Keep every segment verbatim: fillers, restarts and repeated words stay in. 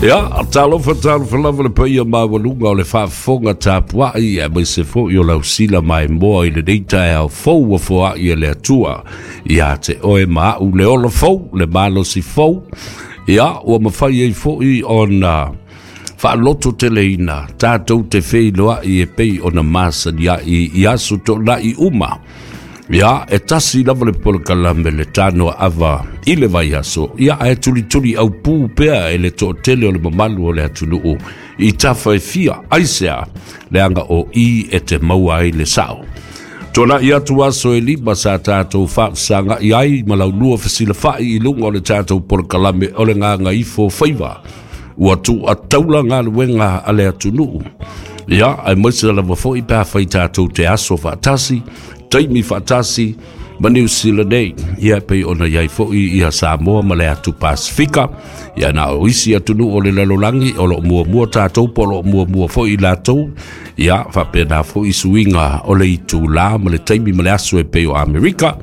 Ia, talofa talofa lava le paia maualuga o le faafofoga tapuai, aemaise foi o lausila maimoa i lenei taeao fou ua foai e le Atua ia te oe ma a'u le ola fou, le malosi fou. Ia, ua mafai ai foi ona faaloto teleina tatou te feiloai e pei ona masani ai i aso toonai uma. Ia, e tasi lava le polokalame le tanoa ava i le vaiaso. Ia, ae tulituli aupū pea e le toatele o le mamalu o le atunuu i tafa e fia, aisea? Leaga o i e te maua ai le sao. Tuana'i atu aso e lima sa tatou faafesaga'i ai ma laulua fesilafai i luga o le tatou polokalame o le Gagaifo Faiva. Ua tuuataula galuega a le atunuu. Ia, aemaise lava foi pe afai tatou te aso faatasi, taimi faatasi ma Niu Sila nei. Ia, pei ona i ai foi ia Samoa ma le atu Pasifika. Ia, na o isi atunuu o le lalolagi o loo muamua tatou po o loo muamua foi i latou. Ia, faapena foi suiga o le itulā ma le taimi ma le aso e pei o Amerika,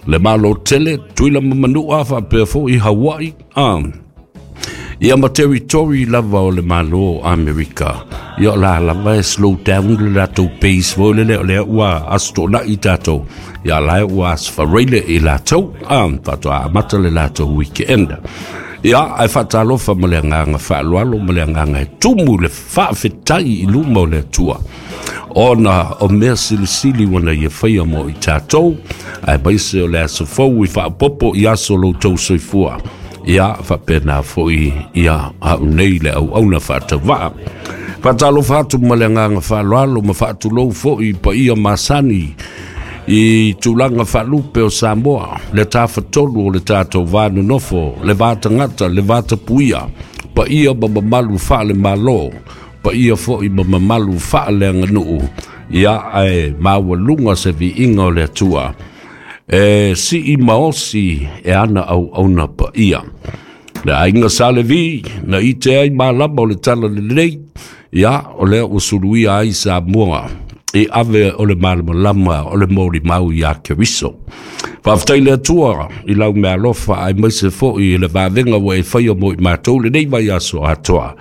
le Malo tele, Tuila ma Manua, faapea foi Hawaii. Ah. Ia, ma territory lava o le Malo Amerika. Ia, o la lava e slow down le latou pace foi lele o lea ua aso toonai tatou. Ia, la ua aso faraile i latou. Ah, faatoa amata le latou weekend. Ia, ae faatalofa ma le agaga faaaloalo ma le agaga e tumu le faafetai i luma o le Atua, ona o mea silisili ua ia faia mo i tatou, aemaise o le aso fou i faapopo i aso lo tou soifua. Ia, faapena foi ia au nei le auauna faatauvaa. Faatalofa atu ma le agaga faaaloalo ma faatulou foi i paia masani i tulaga faalupe o Samoa, le tafatolu o le tatou va nonofo, le va tagata, le va tapuia, paia ma mamalu faale-Malo, paia foi ma mamalu faaleaganuu. Ia, ae maualuga se viiga o le Atua e sii maosi e ana auauna paia. Le aiga Sa Levi na ite ai malama o le tala lelei. Ia, o lea ua suluia ai Samoa e ave o le malamalama o le molimau iā Keriso. Faafetai le Atua i lau meaalofa, aemaise foi i le vavega ua e faia mo i matou lenei vaiaso atoa,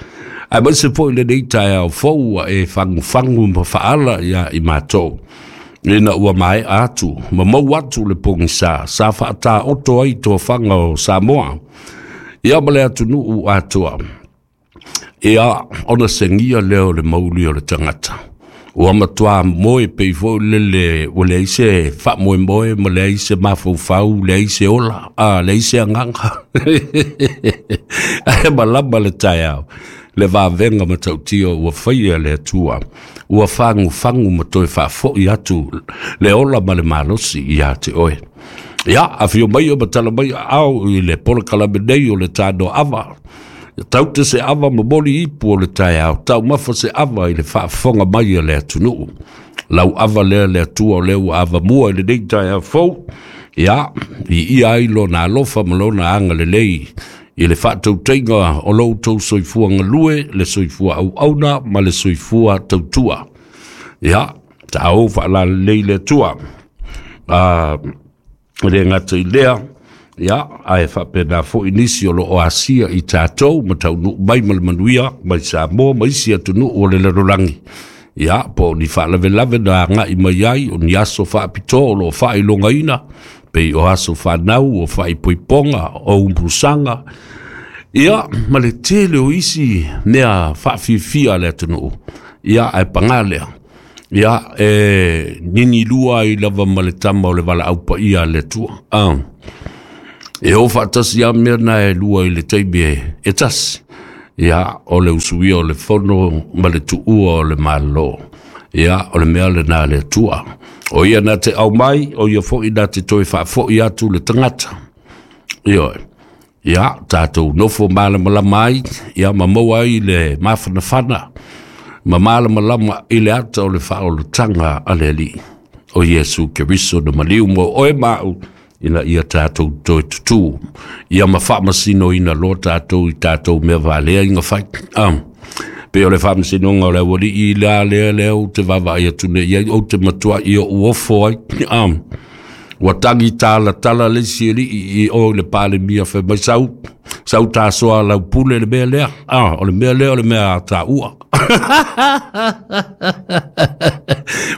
aemaise foi lenei taeao fou ua e fagufagu ma faala ia i matou, ina ua maea atu ma mau atu le pogisa sa faataoto ai tofaga o Samoa, ia, ma le atunuu atoa. Ia, ona segia lea o le mauli o le tagata ua matuā moe pei foi lele ua leai se faamoemoe ma leai se mafaufau, leai se ola, a leai se agaga, ae malama le taeao le vavega matautia ua faia le Atua ua fagufagu ma toe faafoi atu le ola ma le malosi ia te oe. Ia, afio mai o matala mai ao i le polokalame nei o le tano ava. Taute se ava momoli ipu o le taeao, taumafa se ava i le faafofoga mai a le atunuu. Lau ava lea le Atua o lea ua avamua i lenei taeao fou. Ia, i ia ai lona alofa ma lona agalelei i le faatautaiga o lo outou soifua galue, le soifua auauna ma le soifua tautua. Ia, taou faalalelei le Atua. Ah, le gata i lea, ia, ae faapena foi nisi o loo asia i tatou ma taunuu mai ma le manuia mai Samoa ma isi atunuu o le lalolagi. Ia, po o ni faalavelave na agai mai ai, o ni aso faapitoa o loo faailogaina, pei o aso fanau, o faaipoipoga, o umusaga, ia, ma le tele o isi mea faafiafia a le atunuu. Ia, ae pagā lea, ia, e nini lua ai lava ma le tama o le valaau paia a le Atua. Ah. E o faatasi a mea na e lua i le taimi e, e tasi. Ia, o le usuia o le fono ma le tuua o le Malo. Ia, o le mea lena le Atua. O ia na te au mai, o ia foi na te toe faafoi atu le tagata. Ioe. Ia, tatou nofo malamalama ai, ia, ma maua ai le mafanafana, ma malamalama i le ata o le faaolataga a le Alii. O Iesu Keriso na maliu mo oe ma a'u, ina ia tatou toe tutū. Ia ma faamasinoina loa tatou i tatou mea valea iga fai. Ah. Pe o le faamasinoga o le aualii la lea lea ou te vaavaai atu nei ai, ou te matuai o uofo ai. Ah. Ua tangi tala tala le isi ali'i i o i le Palemia fai mai sau sau tasoa lau pule le mea lea. Ah, o le mea lea o le mea a tāua.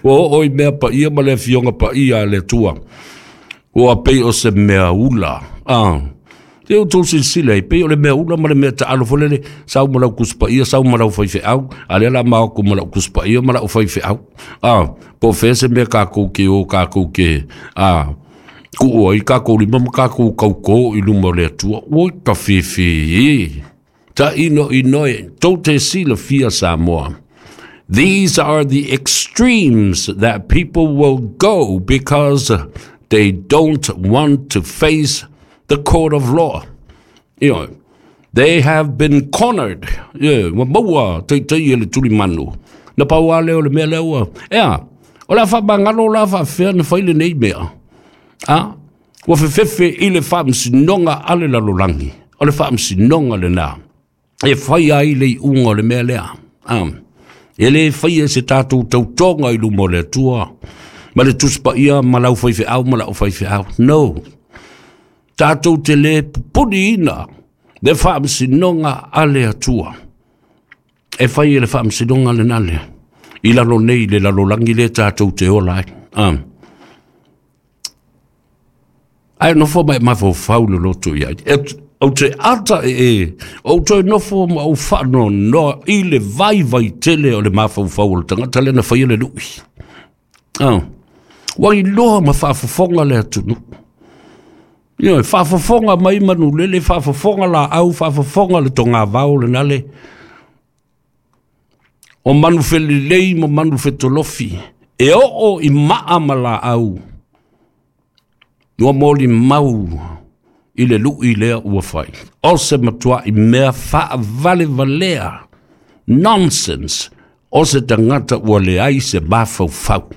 Ua oo i mea paia ma le afioga paia a le Atua. Ua pei o se mea ula. Ah. Te o tō silasila ai, pei o le mea ula ma le mea taalo fo lele, sau ma lau kusipaia, sau ma lau faifeau, a lea la maoko ma lau kusipaia ma lau faifeau. Ah, po o fea se mea kākou ke o kākou ke, ah, kuu ai kākou lima ma kākou kaukō i luma o le Atua. Oi ka fefe e. Ta ino ino e, tou te silafia Samoa. These are the extremes that people will go because they don't want to face the court of law. You know, they have been cornered. Yeah, ua maua teitei e le tulimanu. Na pau lava lea o le mea lea ua. Ea, o le a faamagalo la faafefea na fai lenei mea. A, ua fefefe i le faamasinoga a le lalolagi. O le faamasinoga lenā. E fai ai le iuga o le mea lea. A, e lē faia se tatou tautoga i luma o le Atua. Ma le Tusi Paia ma lau faifeau ma lau faifeau. No. Tatou te lē pupuliina le faamasinoga a le Atua. E fai e le faamasinoga lenā lea. I lalo nei le lalolagi le tatou te ola ai. Ah. Ae nofo mai mafaufau le loto i ai. E, ou te ata e e, ou toe nofo ma ou faanoanoa i le vaivai tele o le mafaufau o le tagata lea na faia le lui. Ah. Ua iloa ma faafofoga le atunuu. Ioe, faafofoga mai manulele, faafofoga laau, faafofoga le togavao lena le. O manu felelei ma manu fetolofi, e oo i maa ma laau. Ua molimau i le lui lea ua fai. O se matuai mea faavalevalea. Nonsense. O se tagata ua leai se mafaufau.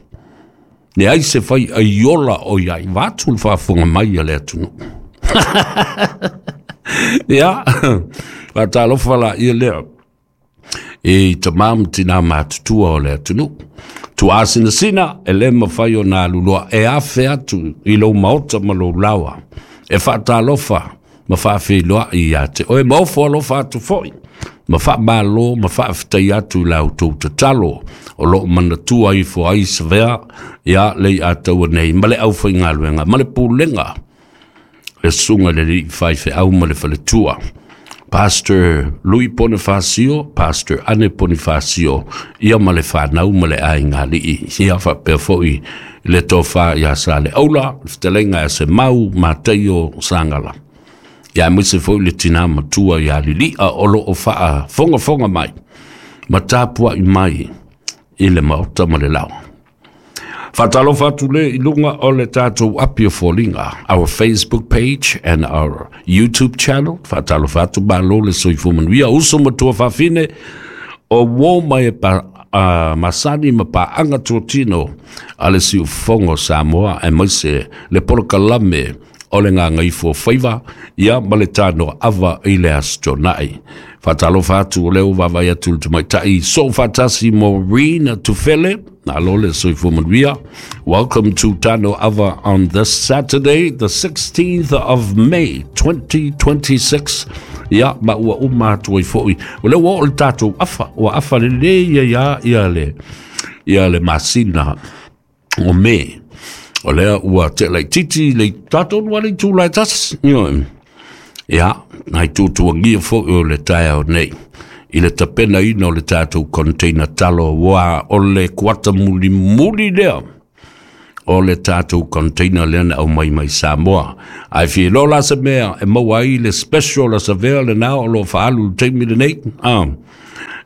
Leai se fai aiola o iai. Vaeatu le faafofoga mai a le atunuu. Ia, faatalofa laia lea. E tamā ma tinā matutua o le atunuu. Tuasinasina e le mafai ona aluloa e afe atu i lou maota ma lou laoa. E faatalofa ma faafeiloai ia te oe ma ofo alofa atu foi. Ma faamalo ma faafetai atu i la outou tatalo o loo manatua ifo ai Savea ia le Ataua nei ma le aufaigaluega ma le pulega le susuga i le alii faifeau ma le faletua. Pastor Louis Bonifacio, Pastor Ane Bonifacio, ia ma le whanau ma le aiga alii. Ia faapea foi le tofa ia sa le aula, le fetalaiga ia se mau Mataio Sangala. Ia aemaise foi le tinā matua ia Lilia o loo faafogafoga mai. Ma tapuai mai i le maota ma le laoa. Faatalofa atu le i luga o le tatou api o foliga, our Facebook page and our YouTube channel. Faatalofa atu malo le soifua manuia, uso ma tuafafine o uō mai e pa, uh, masani ma paaga totino a le siufofoga o Samoa aemaise le polokalame o le Gagaifo Faiva ia ma le tanoa ava i le Aso Toonai. Faatalofa atu o lea ua vaavaai atu i le tamaitai soofaatasi Maureen Tufele. Malo le soifua manuia. Welcome to Tano Ava on this Saturday, the sixteenth of May twenty twenty-six. Ia, ma ua uma atu ai foi. O lea ua oo le tatou afa, ua afa lelei ai lava ia le, ia le masina o Me. O lea ua tea laitiiti le tatou lua le itu la e tasi. Ioe. Ia, nai tuatuagia foi o le taeao nei. I le tapenaina o le tatou container talo ua o le kuata mulimuli lea o le tatou container lea na aumai mai Samoa. Ae fia iloa la se mea e maua ai le special a Savea lenā o lo o faaalu i le taimi lenei. Ah.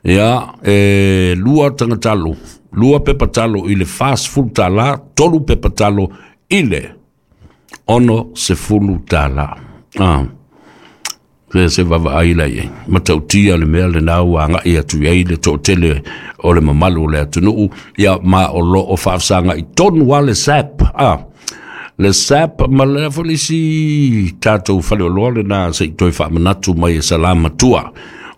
Ia, e lua tagatalo, lua pepa talo i le fasefulu tālā, tolu pepa talo i le ono sefulu tālā. Ah. Se se vaavaai la i ai. Matautia le mea lenā ua agai atu i ai le toatele o le mamalu o le atunuu, ia ma o loo faafesagai tonu lava le S A P. Ah. Le S A P ma le foi le isi tatou faleoloa lenā se i toe faamanatu mai e Salamatua.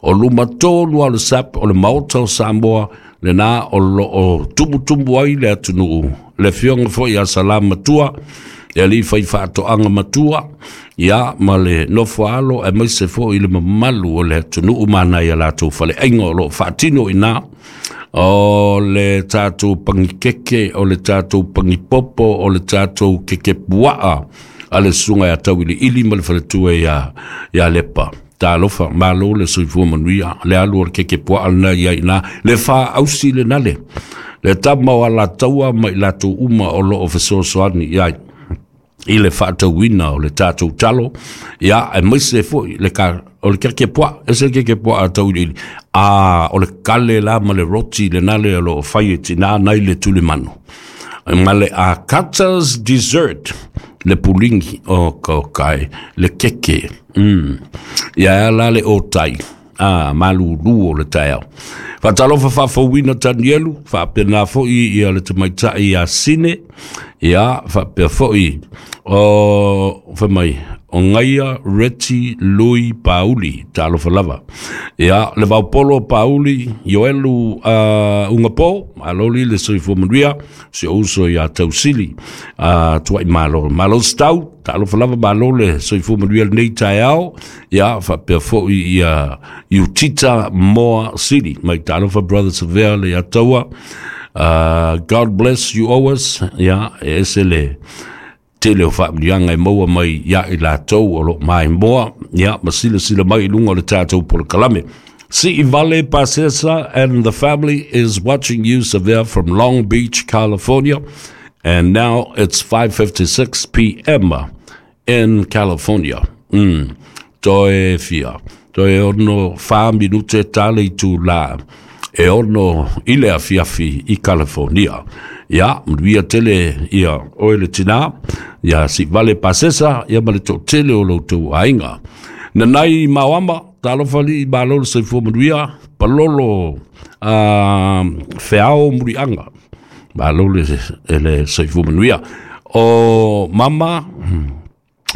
O luma tonu lava o le S A P o le Maota o Samoa lenā o loo tumutumu ai le atunuu. Le afioga foi ia Salamatua Le alii faifaatoaga matua, ia ma le nofo alo aemaise foʻi le mamalu o le atunuu ma nai a latou faleaiga o loo faatino i ina. O le tatou pagikeke, o le tatou pagipopo, o le tatou kekepuaa a le susuga ia Tauiliili ma le faletua ia ia Lepa. Talofa, malo le soifua manuia, le alu o le kekepuaa lena ia ina, le faausi lena le, le tama o alataua ma i latou uma o loo fesoasoani i ai i le faatauina o le tatou talo, ia aemaise foʻi le ka, o le kekepuaa, ese le kekepuaa a Tauiliili, a o le kale la ma le roti lena le o loo fai e tinā nai le tulimanu. Ma le Akata's Dessert, le puligi o ka kai, le keke. Mm. Ia la le o tai. Ah, malulu o le taeao. Faatalofa faafouina Tanielu, faapena foʻi ia le tamaitai ia Sine, ia faapea foʻi o fai mai o Gaia Reti Lui Pauli, talofa lava. Ia le Vaupolo Pauli, Ioelu uh, Ungapo, aloli le soifua manuia, si o uso ia Tausili, uh, tuai malo. Malo stau, talofa lava malo le soifua manuia lenei taeao, ia faapea foʻi ia Utita Moa Sili, mai talofa Brother Severe le Ataua. Uh, God bless you always, ia e ese le tele o faamanuiaga e maua mai ia i latou o loo maimoa, ia ma silasila mai i luga o le tatou polokalame. Siivale Pasesa and the family is watching you, Severe, from Long Beach, California. And now it's five fifty-six p m in California. Mm. Toe fia. Toe ono wha minute tale i tū la. E ono i le afiafi i California. Ia, manuia tele ia oe le tinā, ia Siivale Pasesa, ia ma le toatele o loutou aiga. Nanai Mauama, talofa alii, malo le soifua manuia, palolo uh, feao muriaga. Malo le, le soifua manuia. O mama,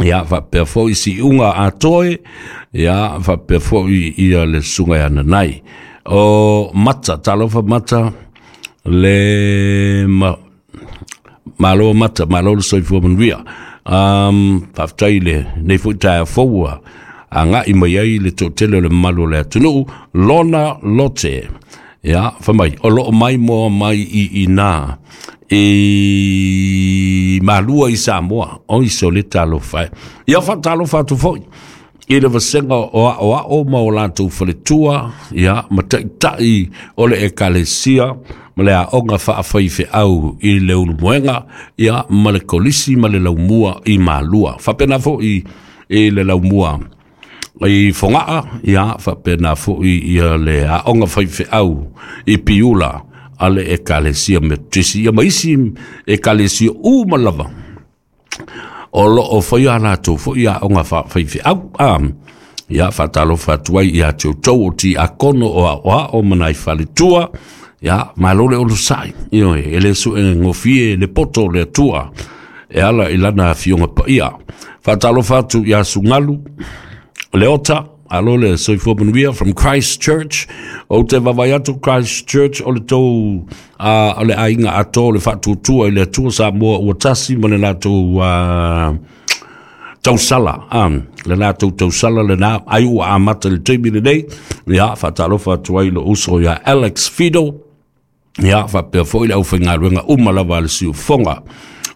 ia faapea foʻi siuga atoe, ia faapea foʻi ia le susuga ia Nanai. O Mata, talofa Mata, le ma, malo Mata, malo le soifua manuia. Um, faafetai le nei foʻi taeao foua agaʻi mai ai le toatele o le mamalu o le atunuu, Lona Lote. Ia, fai mai, o loo mai moa mai i ina i Malua i Samoa, o i so le talofa e. Ia faatalofa atu foʻi i le vasega o aʻoaʻo ma o latou faletua, ia ma taʻitaʻi o le ekalesia ma le aoga faafaifeʻau i le Ulumoega, ia ma le kolisi ma le laumua i Malua. Faapena foʻi i le laumua i Fogaa, ia faapena foʻi ia le aoga faifeʻau i Piula a le ekalesia Metotisi, ia ma isi ekalesia uma lava o loo faia latou foʻi aoga faafaifeʻau. A ia faatalofa atu ai ia te outou o tiakono o aʻoaʻo ma nai faletua, ia malo le onosaʻi, ioe, e le suʻe gofie le poto o le Atua e ala i lana afioga paia. Faatalofa atu iā Sugalu Leota, alo le soifua manuia from Christchurch. Ou te vaavaai atu Christchurch o le tou uh, o le aiga ato le Faatuatua i le Atua Samoa Ua Tasi ma le latou uh, tausala um, le latou tausala lena ai ua amata le taimi lenei. Ia faatalofa atu ai lo uso ia Alex Fido, ia faapea foʻi le aufaigaluega uma lava a le siufoga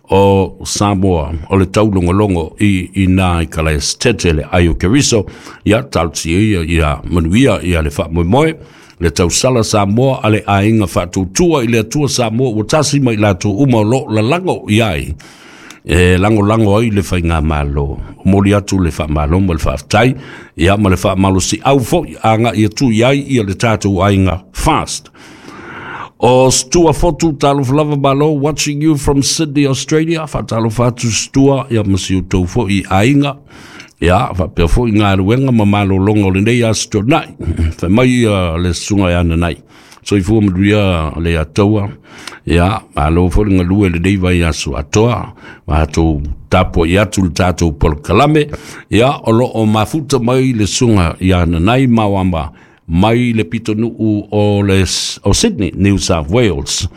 o Samoa o le taulogologo i ina i Kalaesetete le ai o Keriso. Ia talosia ia ia manuia ia le faamoemoe le tausala Samoa a le aiga Faatuatua i le Atua Samoa Ua Tasi ma i latou uma o loo lalago i ai e lagolago ai le faigamalo. Moli atu le faamalo ma le faafetai, ia ma le faamalosiau foʻi agaʻi atu i ai ia le tatou aiga fast. O Stua Fotu, talofa lava malo, watching you from Sydney, Australia. Faatalofa atu Stua, ia ma si outou foʻi aiga. Ia, faapea foʻi galuega ma malologa o lenei aso tuanai. Fai mai ia le susuga ia Nanai. Soifua manuia le Ataua. Ia, malo foʻi le galue lenei vai aso atoa. Matou tapuai atu le tatou polokalame. Ia, o loo mafuta mai le susuga ia Nanai Mauama mai le pitonuu o, le, o Sydney, New South Wales.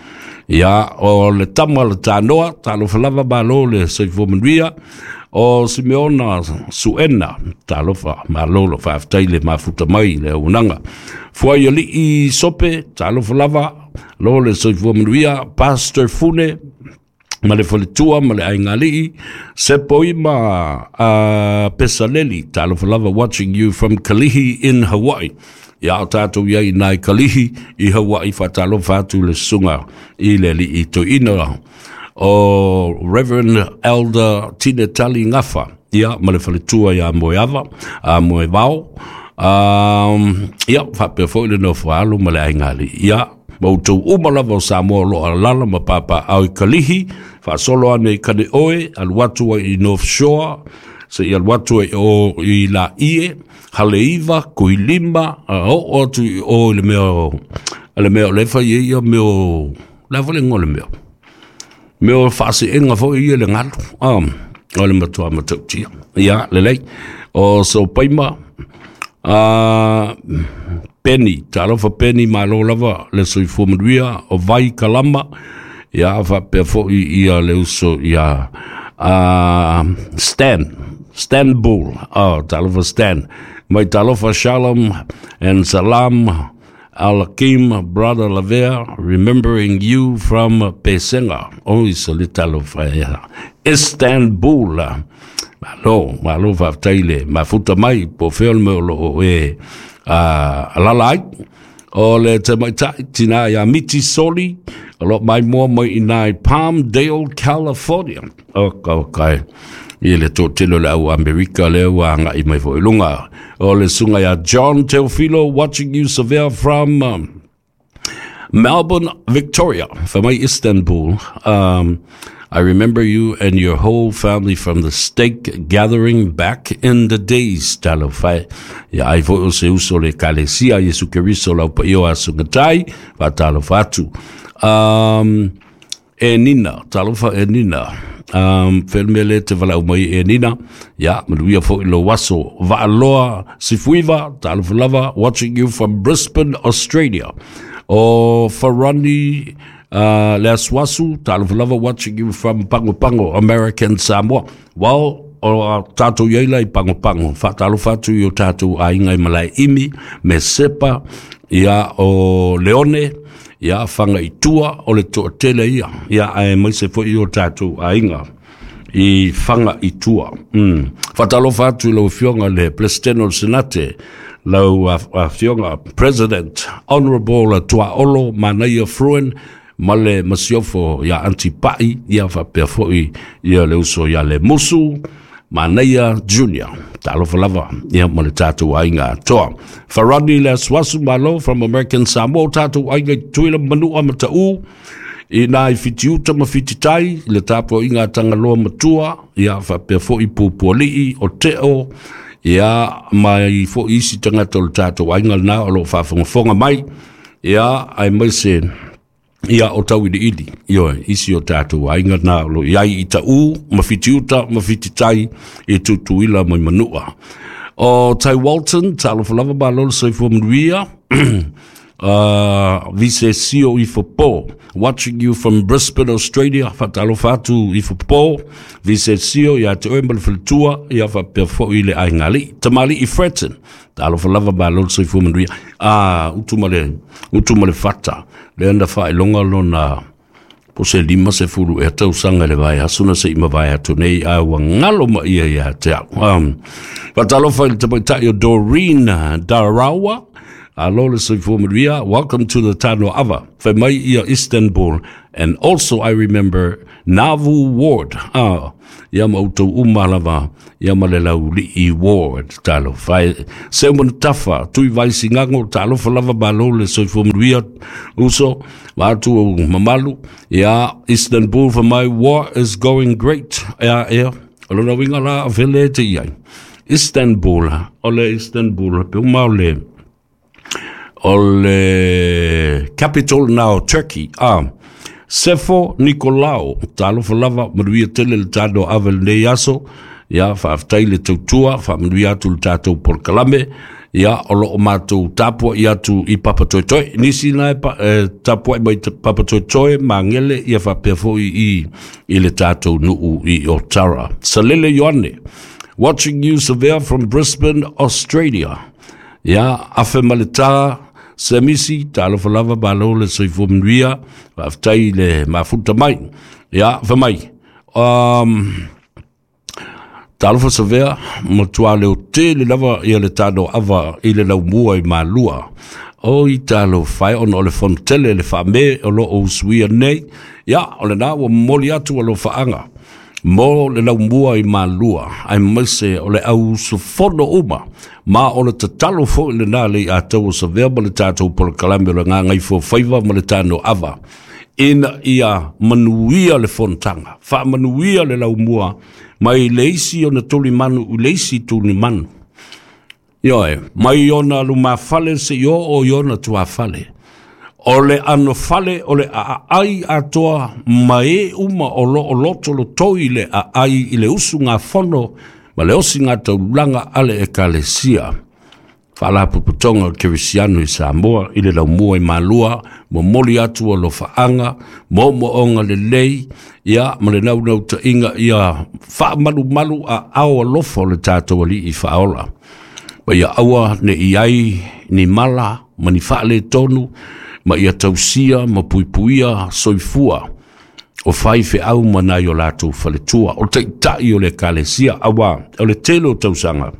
Ia o le tama le tanoa, talofa lava malo le soifua manuia. O Simeona Suena, talofa malo lo faafetai le mafuta mai le auaunaga. Fuai alii Sope, talofa lava lo le soifua manuia. Pastor Fune ma le faletua ma le aigalii. Sepoima uh, Pesaleli, talofa lava, watching you from Kalihi in Hawaii. Ia o tātou ia i nai Kalihi i Hawaii, whatalofa atu le sunga i le lii toina o Reverend Elder Tine Tali Ngafa, ia ma le faletua ia Moeava, a Moevao. Um, ia, whapea foi le nofo alu ma le aigalii. Ia, mautou uma lava o Samoa lo alala ma papa au i Kalihi, whaasolo ane i kane oe, alu atu ai i North Shore, se i alu atu ai o i la ie, Haleiwa, Kuilima, a o atu i o i le mea o, le mea o lefa i ia mea o, la fo le ngo le mea. Mea o whaaseenga fo i le ngalu, um, o le matua matautia. Ia, lelei, o so paima, uh, Penny, talofa Penny, malo lava, le soifua manuia, o vai kalama, ia whapea fo i ia le uso ia uh, Stan, Stanbul, oh, talofa Stan, mai talofa Shalom and Salam Alakim, brother Lavea, remembering you from Pesenga. Oh, isa le talofa ia. Istanbul. Malo, malo whaftaile, mafuta mai, po feo le meo loo e uh, alala ai. O le te maitai, tina ia Miti Soli, o lo mai mua mai i nai Palmdale, California. O ka kai. I le tōtelo le au Amerika le ua ngai mai fo ilunga. O le sunga ia John Teofilo, watching you Savea from um, Melbourne, Victoria, from Istanbul. Um, I remember you and your whole family from the stake gathering back in the days. Talofa. Ia ai fo o se uso le kalesia Yesu Keriso lau pa io asungatai. Fa talofa atu. Um, e Nina, talofa e Nina. Um, felmele te walau mai e Nina. Ia, manuia fo i lo waso. Vaaloa Sifuiva, talofa lava, watching you from Brisbane, Australia. O Farani uh, le Aswasu, talofa lava, watching you from Pango Pango, American Samoa. Wao, o tātou iaila i Pango Pango. Fa talofa atu i o tātou ainga i malai imi, me sepa, ia o Leone, ia whanga i tua o le toatele ia. Ia ae mai se fo i o tātou ainga i whanga i tua. Mm. Whatalofa atu i lau fionga le President o le Senate, lau afionga President Honorable Tuaolo Manaia Fruen, ma le masiofo ia Antipai, ia whapea foi ia le uso ia le Musu, Manaia Junior. Talofa lava, ia ma le tātou ainga toa. Farani le Aswasu Malo from American Samoa, tātou ainga i tuila manua matau, i nā i whitiuta ma whititai, le tāpo inga tangaloa matua, ia whapea foi pupualii o teo, ia mai foi isi tangata o le tātou ainga nā o lo whawhangafonga mai, ia ai mai se, ia o tau ili ili, io, isi o tātou ainga nā lo iai i ta u, ma whitiuta, ma whititai, i tutuila mai manua. O Tai Walton, talofa lava malo le soifua manuia, uh, vice sio i fo watching you from Brisbane, Australia, whatalofa atu i fo vice sio ia te oe ma le faletua, ia whapea fo i le aingali, tamali i Fretton, talofa lava malo le soifua manuia. Ah, utu ma le, utu ma le fata, le anda whaelonga lona, po se lima se fulu e tau sanga le vai asuna se ima vai atu nei a ua ngalo ma ia ia te au. Um, whatalofa i le tamaitai o Doreen Darawa, alo le soifua manuia, welcome to the Tano Ava, whai mai ia Istanbul, and also I remember Navu Ward, ah, ia ma utou uma lava, ia ma le laulii Ward, talo, whai, se umana tafa, tui vai singango, talofa lava malo le soifua manuia, uso, wātu o mamalu, ia Istanbul for my war is going great, ia, ia, alona winga la, vele te iai, Istanbul, ole Istanbul, pe uma ole, o le capital now, Turkey. Ah, Sefo Nikolao, talofa lava, manuia tele le tāno ave le nei aso, ia, whaaftai le tautua, whaamanuia atu le tātou polokalame, Ia, o loo matou tapuai atu i Papatoetoe. Nisi na e pa, e, tapuai mai Papatoetoe, Magele, ia faapea foi i, i le tatou nuu i Otara. Salele Ioane, watching you, Savea, from Brisbane, Australia. Ia, afe maleta, Semisi, talofa lava, malo le soifua manuia, faafetai le mafuta mai. Ia, fa mai. Um, Talofa Savea, matua leo tele lava ia le tano ava i le laumua i Malua. O i talofa e ona o le fonotele le faame o lo o usuia nei. Ia, o le na ua momoli atu alofaanga mo le laumua i Malua, aemaise o le au usufono uma. Ma o le tatalo foi lena le i atau o Savea ma le tatou polokalame o le Gagaifomauga ma le tano ava. Ina ia manuia le fonotaga, faamanuia le laumua, mai le isi ona tulimanu i le isi tulimanu. Ioe, mai ona lumafale se i oo i ona tuafale. O le anofale o le aai atoa ma e uma o lo o loto lotoi le aai i le usugafono ma le osiga taulaga a le Ekalesia. Faalapotopotoga o Kerisiano i Samoa i le laumua i Malua, momoli atu alofaanga, moomooga lelei, ia ma le naunautaiga ia faamalumalu aao alofa o le tatou Alii Faaola. Ma ia aua ne i ai ni mala ma ni faaletonu, ma ia tausia ma puipuia soifua o faifeau ma nai o latou faletua, o taitai o le Ekalesia, auā o le tele o tausaga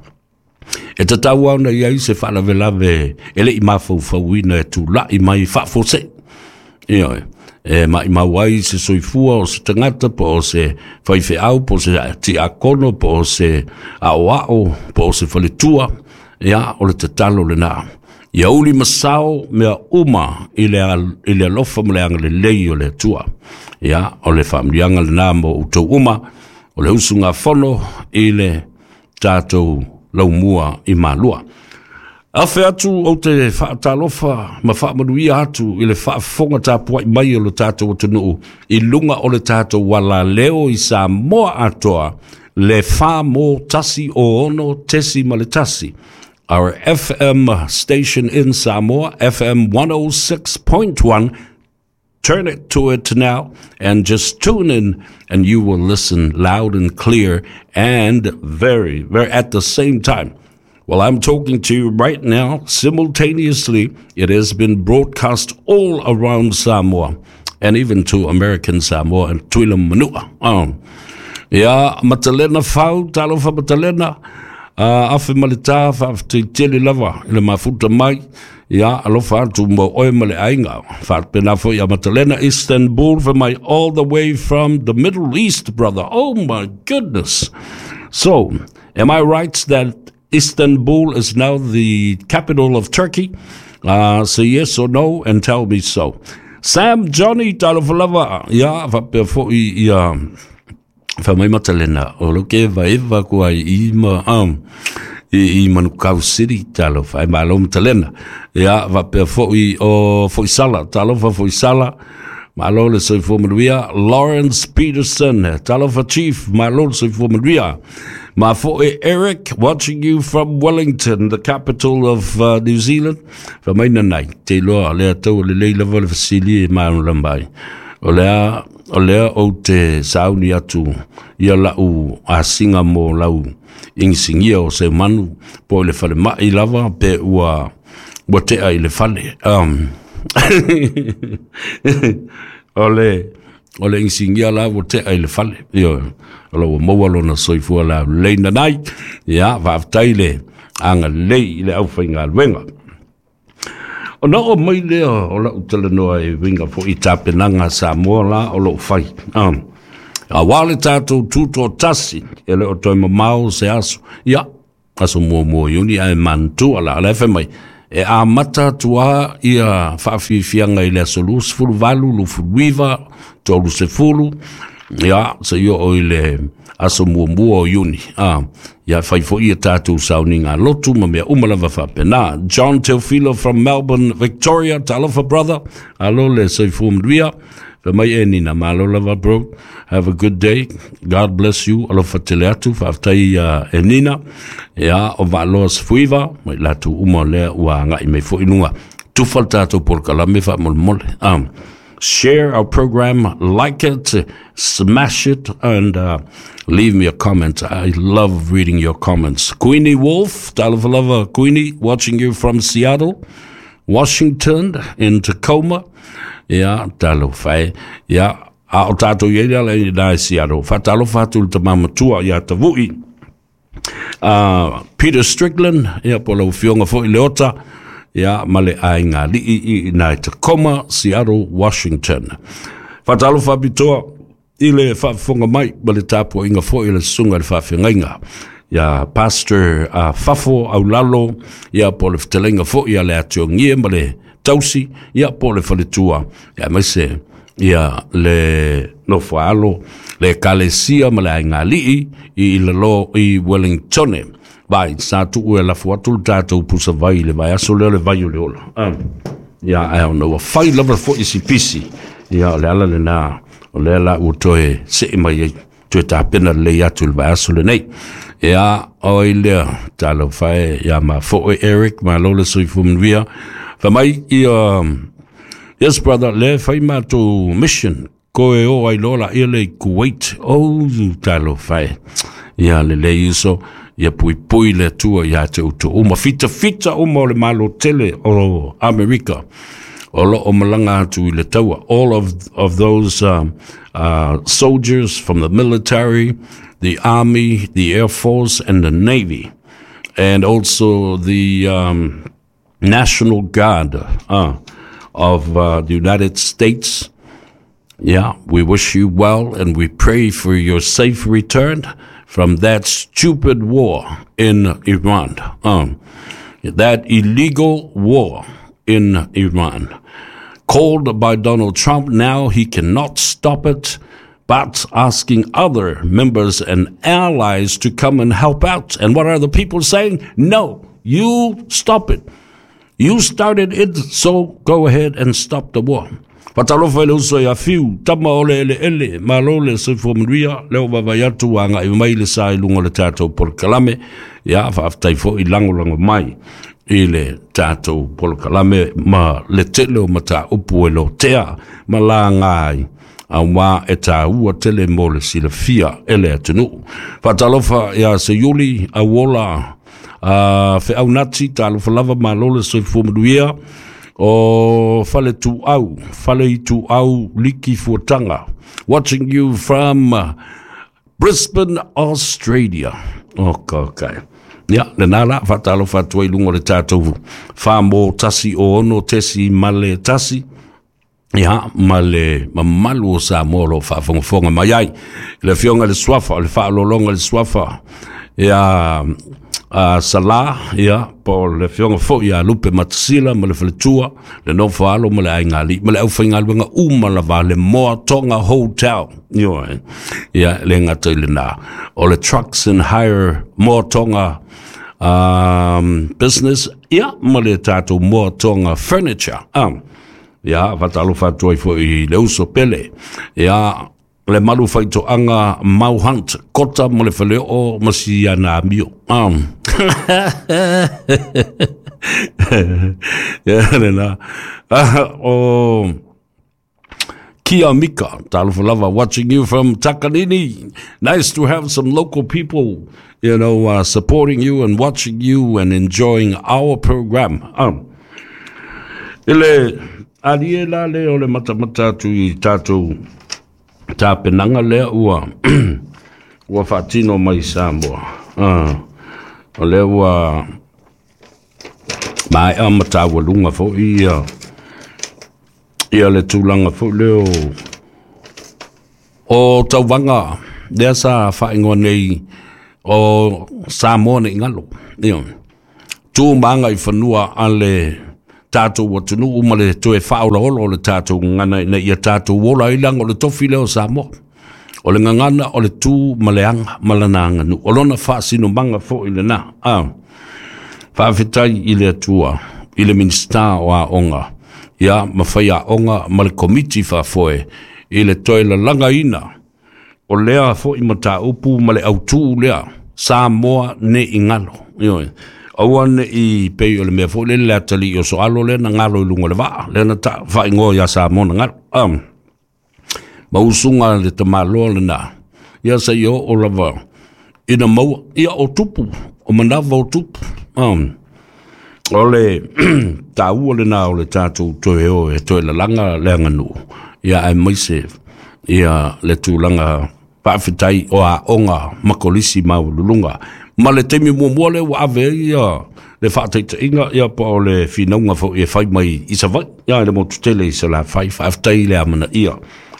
e tatau ona i ai se faalavelave e le i mafaufauina e tula'i mai faafuasei. Ioe, e maimau ai se soifua o se tagata po o se faifeau po o se tiakono po o se aoao po o se faletua. Ia, o le tatalo lena. Ia uli masao mea uma i le, i le alofa ma le agalelei o le Atua. Ia, o le faamanuiaga lena mo outou uma, o le usugafono i le tatou laumua i Malua. Afe atu ou te faatalofa ma faamanuia atu i le faafofoga tapuai mai o le tatou atunuu i luga o le tatou alaleo i Samoa atoa, le fa mo tasi o ono tesi ma le tasi. Our F M station in Samoa, F M one oh six point one. Turn it to it now and just tune in, and you will listen loud and clear and very, very at the same time. Well, I'm talking to you right now. Simultaneously, it has been broadcast all around Samoa and even to American Samoa and Tuila Manua. Um, ia, Matalena Fau, talofa Matalena, uh, afe maleta, faafetai tele lava i le mafuta mai. Ia, alofa atu mo oe ma le aiga. Faapena foi a Matalena Istanbul for my all the way from the Middle East, brother. Oh my goodness. So, am I right that Istanbul is now the capital of Turkey? Uh, say yes or no and tell me so. Sam Johnny, talofa lava. Ia, faapea foi ia fa mai Matalena o lo ke vaeva kua i ma um, i, i Manukau City, talofa ai malo Matalena. Ia, faapea foi o foi sala, talofa foi sala. Malo le soifua manuia. Lawrence Peterson, talofa Chief, malo le soifua manuia. Ma foi Eric, watching you from Wellington, the capital of uh, New Zealand. Fa mai nanai, te loa, lea tau le lei lava le fasili e maanu lambai. O lea, o lea ou te sauni atu ia lau asinga mo lau ingisingia o se manu po i le fale mai lava pe ua ua tea i le fale. Um, o le o le ingisingia la ua tea i le fale. Io, o la ua maua lona soifua la leina nai. Ia, faafetai le agalelei i le aufaigaluega. Ona o mai lea o lau talanoa e uiga foi i tapenaga Samoa la o loo fai. Um, auā le tatou tutoatasi e le o toe mamao se aso. Ia, aso muamua Iuni ae manatua la, la e fai mai. E amata atu ia faafiafiaga i le aso luasefuluvalu, luafuluiva, tolusefulu, ia, seia oo i le aso muamua o Iuni. Ah, ia fai foi ia tatou sauniga lotu ma mea uma lava faapena. John Teofilo from Melbourne, Victoria, talofa brother, alo le soifua manuia. Fa mai e nina, malo lava bro. Have a good day. God bless you. Alofa tele atu, faafetai uh, e nina. Ia, o vaaloa safuiva, mai latu uma lea ua ngai mai fo inuga. Tufa le tātou polokalame faamolemole. Um, share our program, like it, smash it, and uh, leave me a comment. I love reading your comments. Queenie Wolf, talofa lava Queenie, watching you from Seattle, Washington, in Tacoma. Ia, talofa e. Ia, a o tātou i ala i nā Seattle. Faatalofa atu le tamamatua ia Tavu'i. Uh, Peter Strickland, ia, po lau fionga foi Leota, ia, ma le aiga li'i i nā Tacoma, Seattle, Washington. Faatalofa pitoa i le faafofoga mai ma le tapuaiga foi le susuga le faafeagaiga. Ia Pastor uh, Fafo Aulalo, ia po le fetalaiga foi ia le atiogie ma le tausi, ia po le faletua, ia maise ia le nofoalo, le kalesia ma le aiga li'i i lalo i Wellington. Vai, sa tuu e lafu atu le tātou pusa vai le vai aso leo le vai o le ola. Um, ia, ai ona ua fai lava foi si pisi. Ia, o le ala le nā, o le ala ua toe se mai ai, toe tāpena le atu le vai aso le nei. Ia, o i lea, tālau whae, ia ma foe Eric, ma lola soifua manuia. Fa mai, ia, yes brother, le fai mātou mission, ko e o ai lola ia le Kuwait, o tālau whae. Ia, le le iso, ia pui pui le atua ia te utu uma fita fita uma o le malo tele o Amerika o lo o malanga atu i le taua. All of, of those um, uh, soldiers from the military, the army, the air force and the navy, and also the um, National Guard uh, of uh, the United States. Yeah, we wish you well and we pray for your safe return from that stupid war in Iran. Um, that illegal war in Iran. Called by Donald Trump, now he cannot stop it, but asking other members and allies to come and help out. And what are the people saying? No, you stop it. You started it, so go ahead and stop the war. Fatalofa le uso ia fiu, tama ole ele ele, malo le soifua manuia, leo vavai atu a ngai mai le sa i lunga le tātou polokalame, ia faafetai foi lagolago mai i le tātou polokalame ma le tele o mataupu e lotea ma laga ai, auā e tāua tele mo le silafia e le atunuu. Faatalofa ia Seiuli, auola, uh, feaunati, talofa lava malo le soifua manuia, o fale tuau, fale tuau liki fuatanga, watching you from Brisbane, Australia. Okay, okay. Ia, le nā la, faatalofa atu ai luga o le tātou whamō tasi o ono tesi male tasi. Ia, ma le mamalu o Samoa o lo faafogafoga mai ai. Le afioga le suafa, o le faalologa le suafa. Ia, uh, Sala, ia, po le afioga foi ia Lupe Matasila ma le faletua, le nofo alo ma le aiga ma le aufaigaluega uma lava le Moa Tonga Hotel. Ioe. Ia, le gata i lenā. O le Trucks and Hire Moa Tonga um, business, ia, ma le tātou Moa Tonga Furniture. Um, ia, faatalofa atu ai foi i le uso pele. Ia, le malu faitoaga Mau Hunt, Kota ma le faleo ma si ana amio. Um. Ia, le nā. O Kia Mika, talofa lava, watching you from Takanini. Nice to have some local people, you know, uh, supporting you and watching you and enjoying our program. Um. Ile, ali e la le o le matamata atu i tātou tāpenaga lea ua ua faatino mai Samoa. Uh, o lea ua maea ma taualuga foi ia ia le tulaga foi lea o o tauvaga lea sa faaigoa nei o Samoa nei galo. Ia tu maga i fanua a le tātou atunuu ma le toe faaolaola o le tātou gagana ina ia tātou ola ai laga o le tofi lea o Samoa. O le gagana o le tu ma le aga ma lana aganuu. O lona faasinomaga foi lenā. Ah, faafetai i le Atua, i le Minisita o Aoga, ia ma faiaoga ma le komiti faafoe I le toe lalagaina o lea fo'i mataupu ma le autū lea Samoa ne i galo. Ioe, aua ne i pei o le mea fo'i lele le atalii o Soalo lea na galo i luga o le vaa lea na faa'igoa iā Samoa na galo um, ma usuga le tamāloa lenā ia seia oo lava ina maua ia o tupu o manava o tupu um, o le taua lenā o le tatou toe o e toe lalaga le aganuu ia aemaise ia le tulaga faafetai o aoga ma kolisi maualuluga ma le taimi muamua lea ua ave ai ia le faataitaiga ia po o le finauga foi e fai mai i Savaii ia i le motu tele i Salafai. Faafetai le amanaia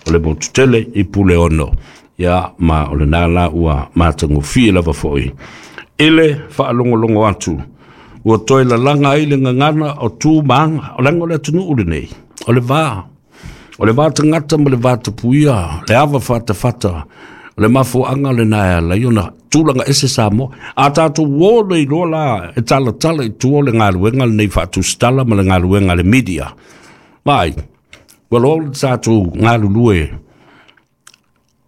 o le motu tele i Puleono ia ma o lenā la ua matagofie lava foi i le faalogologo atu ua toe lalaga ai le gagana o tu ma aga o leaga o le atunuu lenei o le va o le va tagata ma le va tapuia le ava fatafata o le mafuaaga lenā e ala ai ona tulaga ese Samoa a tatou o nei loa la e talatala i tua o le galuega lenei faatusitala ma le galuega a le media mai ua loa le tatou galulue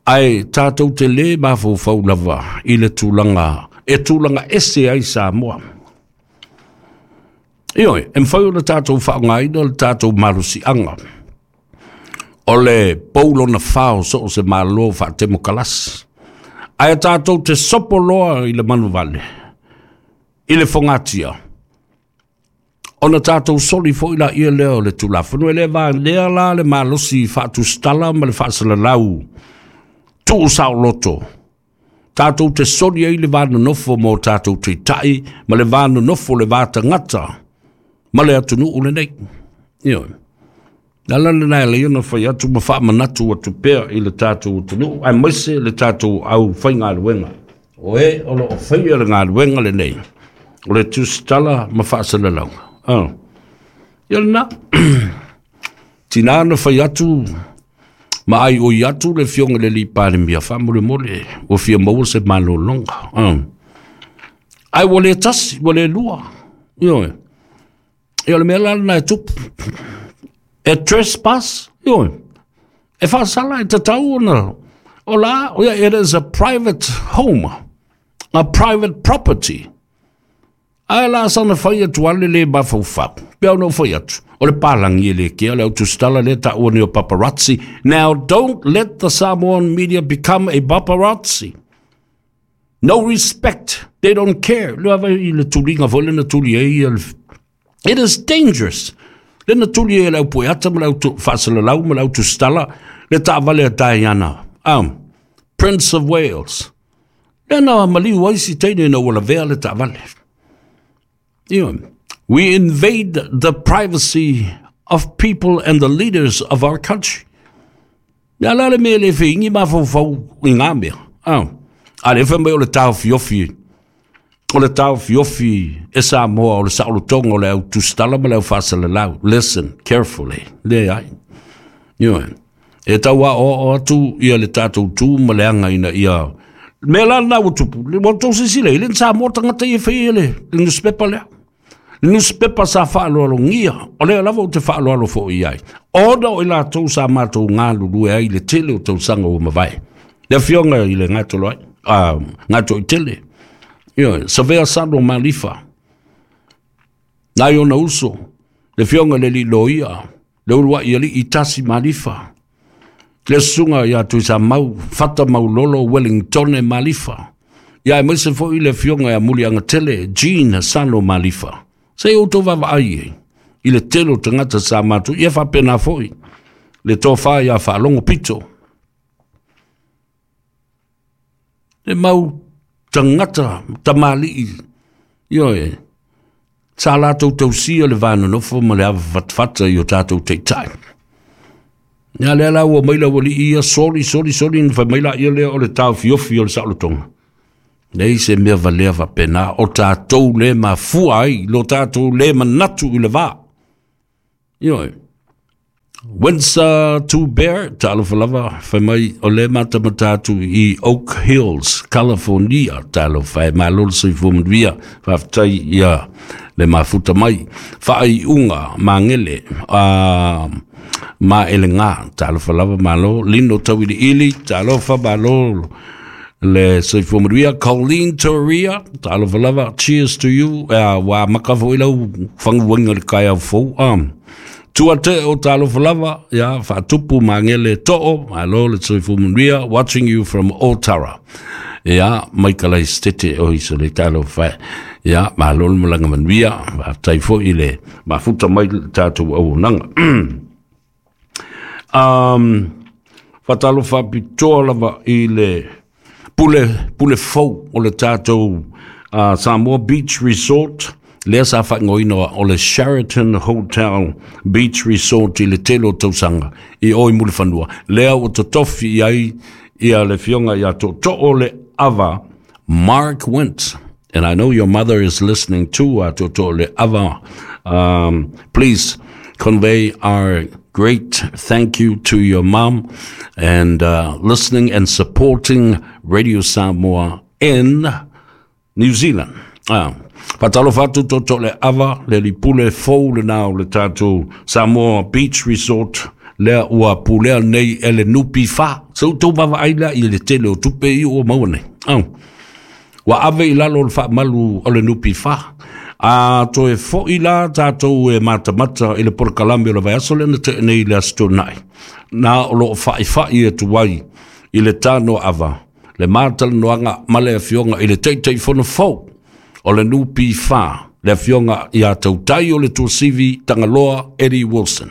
ae tatou te lē mafaufau lava i le tulaga e tulaga ese ai Samoa. Ioe, e mafai ona tatou faaaogaina le tatou malosiaga o le pou lona fa o so o se malo faatemokalasi ae tatou te sopo loa i le manuvale i le fogatia ona tatou soli fo'i laia lea o le Tulafono e lē valea la le malosi faatusitala ma le faasalalau tuu saoloto tatou te soli ai le va nonofo mo tatou taitai ma le va nonofo le va tagata ma le atunuu lenei. Ioe. Le ala lenā e alai ona fai atu ma faamanatu atu pea i le tatou atunuu aemaise le tatou aufaigaluega o e o loo faia le galuega lenei o le tusitala ma faasalalauga. Ah. Ia lenā tinā na fai atu ma ai oi atu le afioga i le alii Palemia faamolemole ua fia maua se malologa. Ah. Ae ua le tasi ua le lua. Ioe. Ia o le mea la lenā e tupu e trespass. Ioe. E faasala e tatau ona o la o ia it is a private home, a private property. Ae la sana fai atu ale le mafaufau. Pea ona fai atu. O le palangi e le kea le autusitala le taua ni o paparazzi. Now don't let the Samoan media become a paparazzi. No respect. They don't care. Le ava i le tuliga foi le na tuli ai. It is dangerous. Le na tuli ai le au poeata ma le au faasalalau ma le autusitala le taavale a Diana. Um, Prince of Wales. Le na maliu ai si teine na ua lavea le taavale. You know, we invade the privacy of people and the leaders of our country. Ia la le mea le feingi mafaufau i ngā mea. Ah. A le fai mai o le taofiofi o le taofiofi e Samoa o le saolotoga o le au tusitala ma le au faasalalau. Listen carefully. Le ai. Ioe. E tau aoao atu ia le tatou tu ma le aga ina ia mea la lenā ua tupu ua tou silasila i le Samoa tagata ia e faia le le newspaper lea le newspaper sa faaaloalogia o lea lava ou te faaaloalo fo'i ai ona o i latou sa matou galulue ai le tele o tausaga ua mavae le afioga i le Gatolo ai a Gato'itele. Ioe, Savea Sano Malifa nai ona uso le afioga i le alii loia le ulua'i alii Tasi Malifa le susuga iā Tuisamau Fata Maulolo Wellingtone Malifa ia aemaise fo'i le afioga ia Muliagatele Jean Sano Malifa se i outou vaavaai ai i le tele o tagata sa matou ia faapena fo'i le tofa iā Faalogo Pito le mau tagata tamalii. Ioe, sa latou tausia le va nonofo ma le ava fatafata i o tatou taitai. Ia lea la ua mai le aualii ia soli soli soli na fai mai laia lea o le taofiofi o le saolotoga. Leai se mea valea faapena o tatou lē mafua ai lo tatou lē manatu i le va. Ioe. Windsor Two Bear, talofa lava, fai mai o le matamata atu i Oak Hills, California, talofa e, malo le soifua manuia, faafetai ia le mafuta mai. Faaiuga Magele uh, ma elega, talofa lava, malo. Lino Tauiliili, talofa, malo le soifua manuia. Colleen Toria, talofa lava, cheers to you. uh, Ua maka foi lau faguaga le taeao fou. um, Tua te o talofa lava, ia, faatupu Magele Too, malo le soifua manuia, watching you from Otara. Ia, Michael Stete o iso le talofa. Ia, malo le malaga manuia, faafetai foi le mafuta mai le tatou auaunaga. um, Faatalofa pitoa lava i le pule, pule fou o le tatou uh, Samoa Beach Resort, lea sa faaigoaina o le Sheraton Hotel Beach Resort i le tele o tausaga i o i Mulifanua, lea ua totofi i ai ia le afioga ia Tootoo le Ava Mark Wint. And I know your mother is listening too, uh, Tootoo le Ava. Um, please convey our great thank you to your mom and uh, listening and supporting Radio Samoa in New Zealand. Ah. Faatalofa atu Tootoo le Ava, le lipule fou lena o le tatou Samoa Beach Resort, lea ua pulea nei e le N P F. Se outou vaavaai lea i le tele o tupe i ua maua nei. Oh. Ua ave i lalo o le faamalu o le N P F. A toe foi la tatou e matamata i le polokalame o le vaiaso lea na tea nei le Aso Toonai. Na o loo faifai atu ai i le tano ava, le matalanoaga ma le afioga i le Taitaifono fou o le N P F, le afioga ia Tautai o le Tuasivi Tagaloa Eddie Wilson.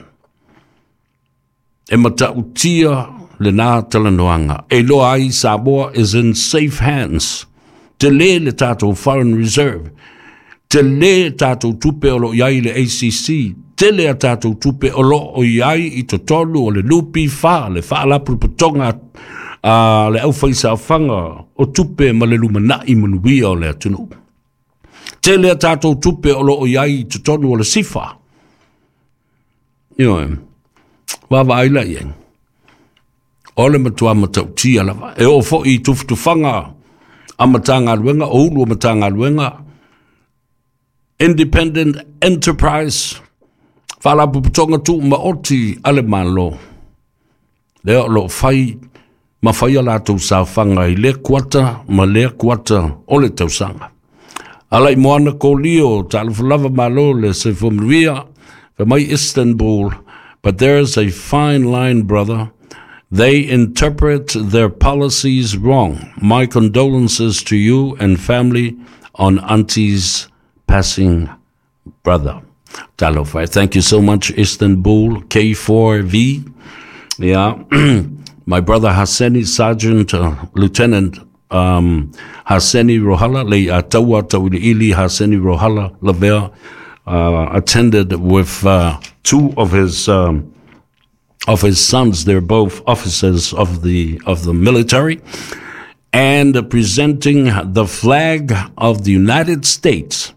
E matautia lena talanoaga. E iloa ai Samoa is in safe hands. Tele le tatou foreign reserve. Tele tatou tupe o lo i ai le A C C. Tele a tatou tupe o lo o i ai i totonu o le N P F, le faalapotopotoga a le aufaisaofaga o tupe ma le lumanai manuia o le atunuu. Tele a tatou tupe o lo o i ai i totonu o le SIFA. Ioe, vaavaai la i ai. O le matua matautia lava. E oo foi i tufatufaga a Matagaluega, o ulu o Matagaluega, Independent Enterprise, Faalapotopotoga Tumaoti a le Malo. Lea o loo fai ma fai a latou saofaga i lea kuata ma lea kuata o le tausaga. Ala i Moana Kolio, talofa lava, malo le soifua manuia, fa mai Istanbul, but there's a fine line, brother. They interpret their policies wrong. My condolences to you and family on auntie's passing, brother. Talofa. Thank you so much, Istanbul, K four V. Yeah. My brother Hassani, Sergeant, uh, Lieutenant um, Hassani Rohala, le Ataua Tauiliili Hassani Rohala Lavea, uh, attended with uh, two of his um, of his sons. They're both officers of the of the military, and presenting the flag of the United States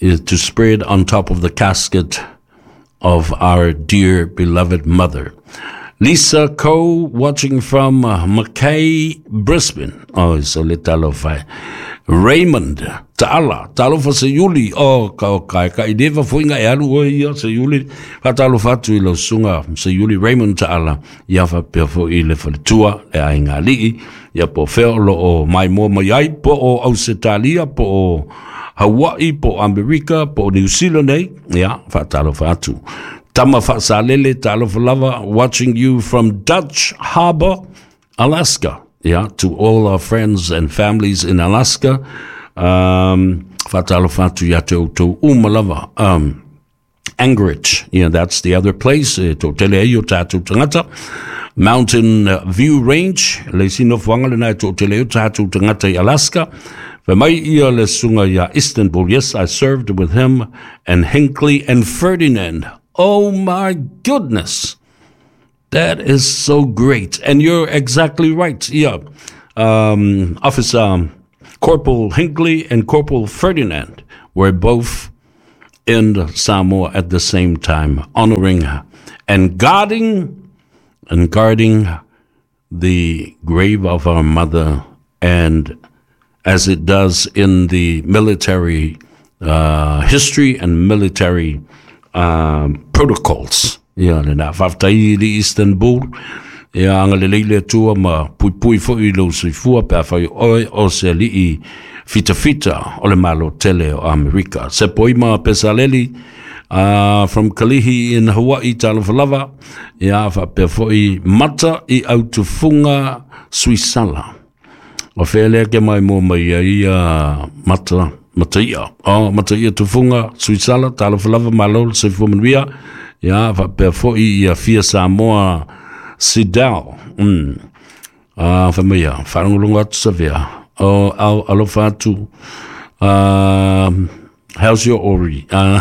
is to spread on top of the casket of our dear beloved mother. Lisa Coe watching from uh, Mackay, Brisbane. Oh, so le talofa. Raymond Taala, talofa se Iuli, oh, ka o kai, ka i deva fuinga e alu o ia se Iuli, ka talofa atu i lau susuga se Iuli Raymond Taala, ia faapea foi le faletua, le aiga alii, ia po fea o lo o mai mua mai ai, po o Ausetalia, po o Hawaii, po o Amerika, po o New Zealand nei, ia, faatalofa atu. Tama Faasalele, talofa lava, watching you from Dutch Harbor, Alaska. Yeah, to all our friends and families in Alaska. Um, faatalofa atu ia te outou uma lava. Um, Anchorage, yeah, that's the other place. E toatele ai o tatou tagata. Mountain View Range, le isi nofoaga lena e toatele ai o tatou tagata i Alaska. Fa mai ia le susuga ia Istanbul. Yes, I served with him and Hinkley and Ferdinand. Oh my goodness. That is so great. And you're exactly right. Yeah. Um, Officer Corporal Hinkley and Corporal Ferdinand were both in Samoa at the same time, honoring and guarding and guarding the grave of our mother, and as it does in the military uh, history and military um, protocols. Ia lena faafetai i Istanbul. Ia agalelei le Atua ma puipui foʻi lou soifua pe afai oe o se aliʻi fitafita o le Malo tele o Amerika. Sepo ima Pesaleli uh, from Kalihi in Hawaii, talofa lava. Ia faapea foʻi Mata i Autufuga Suisala. O fea lea ke mai mua mai ai ia Mata Mataia. O Mataia Tufuga Suisala, talofa lava, malo le soifua manuia. Ia faapea foʻi ia Fia Samoa Sidao. Mm. Uh, fa mai ia, faalogologo atu Savea. O au alofa atu. Uh, how's your Ori? Uh,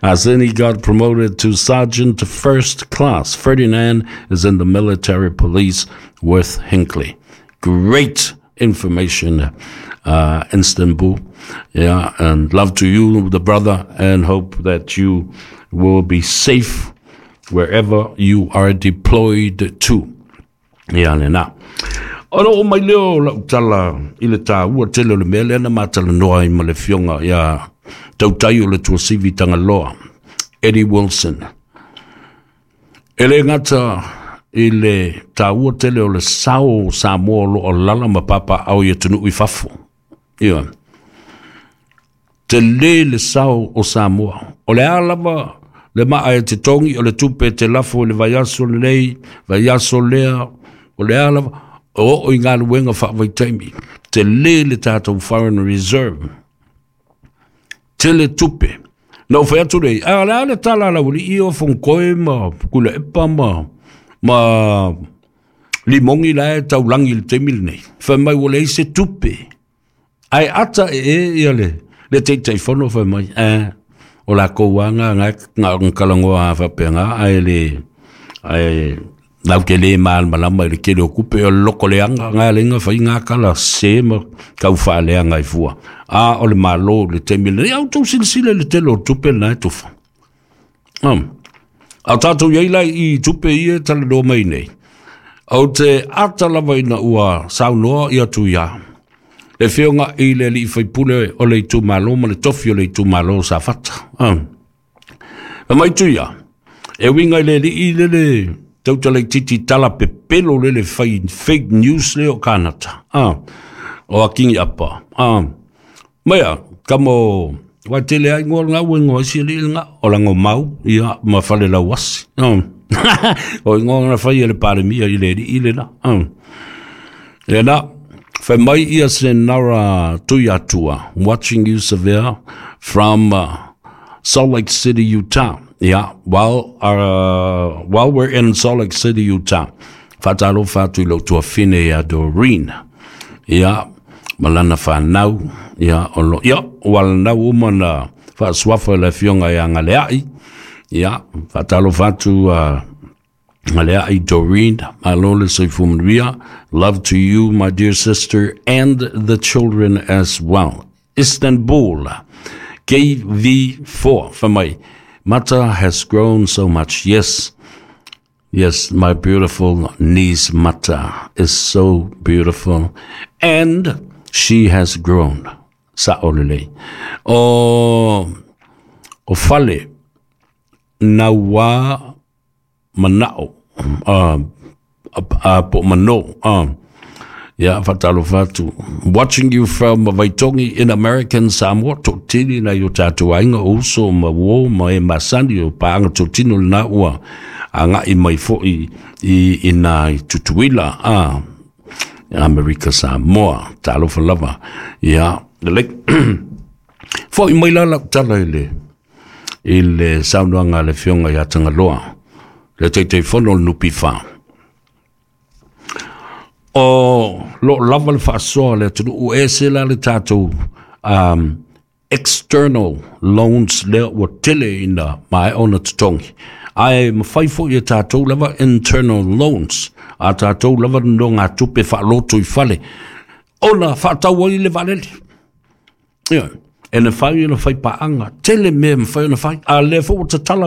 Arseni got promoted to sergeant first class. Ferdinand is in the military police with Hinckley. Great information, uh, Istanbul. Yeah, and love to you, the brother, and hope that you will be safe wherever you are deployed to. Ia lena. Ona oo mai lea o lau tala i le taua tele o le mea lea na matalanoa ai ma le Afioga ia Tautai o le Tuasivi Tagaloa, Eddie Wilson. E le gata i le taua tele o le sao o Samoa o lo o alaala ma papaaao i atunuu i fafo. Ia. Tele le sao o Samoa. O le a lava le maa e te togi o le tupe e te lafo i le vaiaso lenei, vaiaso lea, o le a lava, o oo i galuega faavaitaimi. Tele le tatou foreign reserve. Tele tupe. Na ou fai atu lea, a o le a le tala a le aualii o Fonotoe ma Tuilaepa ma, ma Limogi la e taulagi i le taimi lenei. Fai mai ua leai se tupe. Ae ata ee ia le, le Taitaifono fai mai, eh, o lakou lava nga nga talanoa faapena ae le ae lau te le malamalama i le tele o tupe o le loko leaga nga le fai nga kala se ma tau faaleaga ai fua. A o le Malo le taimi lenei, a outou silasila i le tele o tupe lena e tufa. Um. A tatou iai la i tupe ia e talanoa mai nei. Ou te ata lava ina ua saunoa ia Tuia. Le afioga i le alii faipule o le itumalo ma le tofi o le itumalo o Safata. Ah. Fai mai Tuia, e uiga i le alii le le tautalaititi tala pepelo le le fai fake news le o Kanata. Ah. O Akingi Apa. Ah. Maia, kamo wa tele ai ngoa ngau e ngoa isi alii le ngā, o lango mau, ia, ma fale lauasi. Ah. O ingoa na fai e le Palemia i le alii le na. Ah. Le na, fai mai ia Senara Tuiatua, watching you Savea from uh, Salt Lake City, Utah. Yeah, while, uh, while we're in Salt Lake City, Utah, faatalofa atu i lou tuafine ia Doreen. Ia, ma lana fanau, ia, o lo, ia, ua lanau uma na faasuafa i le afioga ia Galeai. Ia, faatalofa atu uh, Galeai Doreen, malo le soifua manuia. Love to you, my dear sister, and the children as well. Istanbul, K V four, fai mai, Mata has grown so much. Yes, yes, my beautiful niece Mata is so beautiful, and she has grown. Sa'o lelei. O, o fale, naua manao, uh, uh, po mano, uh, ia faatalofa atu. Watching you from Vaitogi in American Samoa, toatele nai o tatou aiga o uso ma uo ma e masani o paaga totino lena ua agai mai foʻi i ina i Tutuila, ah, Amerika Samoa, talofa lava. Ia, lelei. Foʻi mai la lau tala i le i le saunoaga a le Afioga ia Tagaloa, le Taitaifono o le N P F. O lo lava le faasoa le atunuu e ese la le tatou um, external loans lea ua tele ina maea ona totogi. Ae mafai foʻi e tatou lava internal loans, a tatou lava nonogatupe faaloto i fale, ona faatau ai le vaalele. Ia, E na fai ona fai paaga, tele mea e mafai ona fai, a o lea foi ua tatala